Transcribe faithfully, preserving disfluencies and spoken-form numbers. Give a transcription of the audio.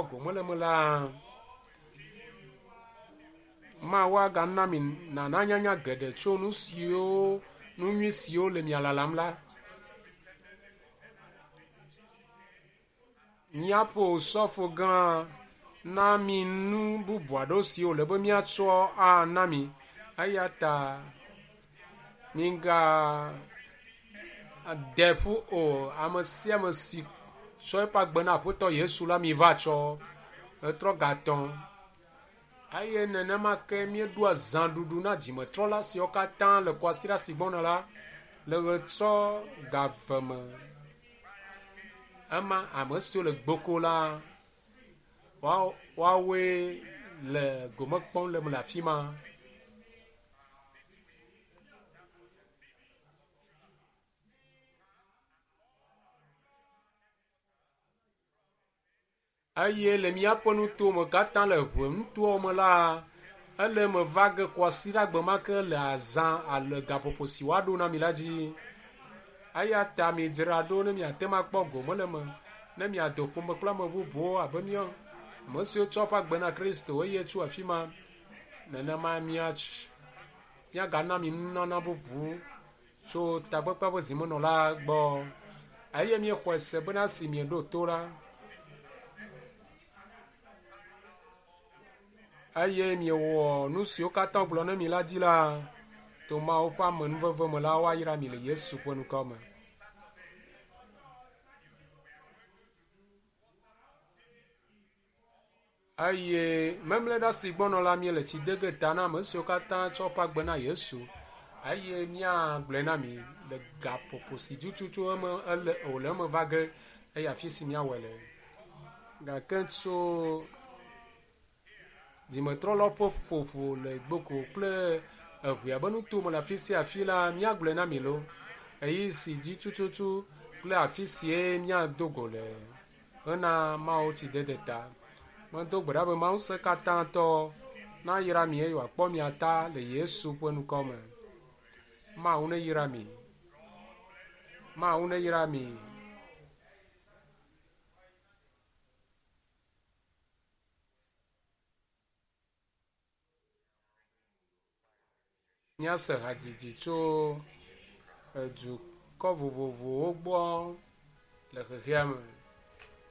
Gome le me la, Mawu agana mi nana nyanya geɖe tso nu siwo nu nyui siwo le mia lalam la. Míaƒe osɔfo gã na mi nu bubu aɖewo siwo le be míatsɔ ana mi. Eya ta miga de ƒu o. Ame sia ame si tsɔ eƒe agbe na Aƒetɔ Yesu la, mi va tsɔ etrɔ gatɔ̃. Eye nenema ke míeɖoa zãɖuɖu na dzimetrɔla siwo katã le kwasiɖa si gbɔna la le ɣetrɔ ga eve me. Ema ame siwo le gboko la, woawoe le gome kpɔm le me le afi ma. Eye le míaƒe nutowo me katã le ʋe nutowo me la, ele eme va ge kwasiɖagbe ma ke le azã ale gaƒoƒo si woaɖo na mi la dzi. Eya ta midzra ɖo ne miate ŋu akpɔ gome le eme, ne miado ƒome kple ame bubuwo abe míawo ame siwo tsɔ woƒe agbe na Kristo eye tso afi ma nenema míagana mi nunana bubu tso takpekpea ƒe zimenɔla gbɔ. Eye míexɔe se bena si mieɖo to la, eye miewɔ nu siwo katã wogblɔ na mi la dzi la, to Mawu ƒe amenuveve me la, woayra mi le Yesu ƒe ŋkɔ me. Eye memleɖa si gbɔnɔ la, míele tsi de ge ta na ame siwo katã tsɔ woƒe agbe na Yesu. Eye míagblɔe na mi le gaƒoƒo si dzi tutu eme ele wòle eme va ge eye afi si míawɔe le. Gake tso dzimetrɔlawo ƒe ƒoƒo le gboko kple eʋea be nutome le afi sia afi la, míagblɔe na mi lo. Ɣeyiɣi si dzi tututu kple afi sie míado go le hena Mawu tsidede ta. Medo gbe ɖa be Mawu ŋusẽ katã tɔ nayra mi eye wòakpɔ mia ta le Yesu ƒe ŋkɔ me. Mawu neyra mi. Mawu neyra mi. Míase hadzidzi tso edukɔ vovovowo gbɔ le xexea me.